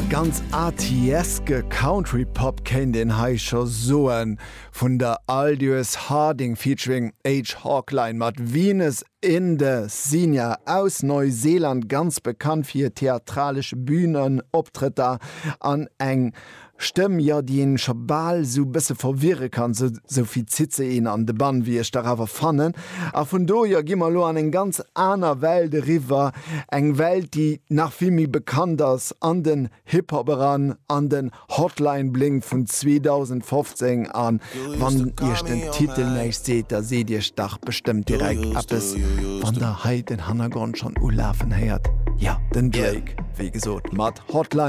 Ganz artieske Country Pop kéint een hei scho soen, vun der Aldous Harding featuring H. Hawkline mat Venus in the Xenia aus Neuseeland, ganz bekannt fir hir theatralesch Bühnenoptrëtter an eng Stëmm, jo, déi een scho bal sou bësse verwirre kann, sou vill zitt se een an de Bann, wéi ech dach awer fannen. A vun do, jo, gi mer elo an eng ganz aner Welt eriwwer, eng Welt, déi nach vill méi bekannt ass, an den Hip-Hop eran, an den Hotline Bling vun 2015. A wann iech den Titel näischt seet, da seet iech dach bestëmmt direkt eppes, wann der hei den Hannergrond schonn ulafen héiert, jo, den Drake, wéi gesot, mat Hotline.